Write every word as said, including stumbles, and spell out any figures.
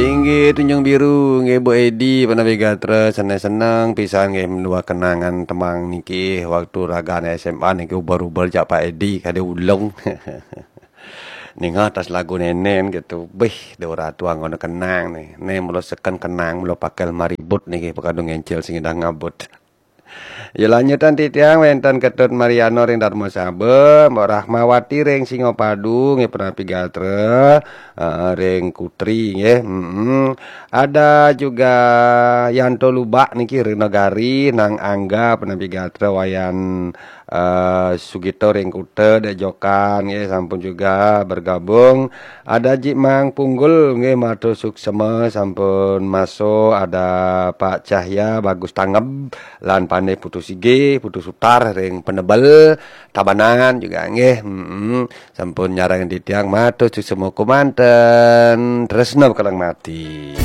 Inggih Tunjung Biru, inggih Bu Edi, panapi gatra, seneng-seneng pisan inggih mendua kenangan tembang niki waktu ragane S M A niki, ubel-ubel jak Pak Edi kade ulung. Ninga tas lagu nenen gitu. Bih, de ora tuang ngono kenang nih. Nih mulo seken kenang, mulo pakel maribut niki, pakadu ngencil sing idah ngabut. Ya, lanjutan titiang wenten Ketut Mariano ring Darmasaba, Mbok Rahmawati ring Singapadu nggih, panapi gatra, eh, ring Kutri nggih. Mm-mm. Ada juga Yanto Lubak niki ring Nagari, Nang Angga panapi gatra, Wayan, eh, Sugito ring Kuta, Dek Jokan nggih, sampun juga bergabung. Ada Jik Mang Punggul nggih, matur suksema sampun maso, ada Pak Cahya Bagus Tangeb lan Pandai Putu Sige, Putu Sutar ring Penebel, Tabanan juga nggih. Mm-mm. Sampun nyarengin titiang, matur suksema kumanten. Tresna bekeleng mati.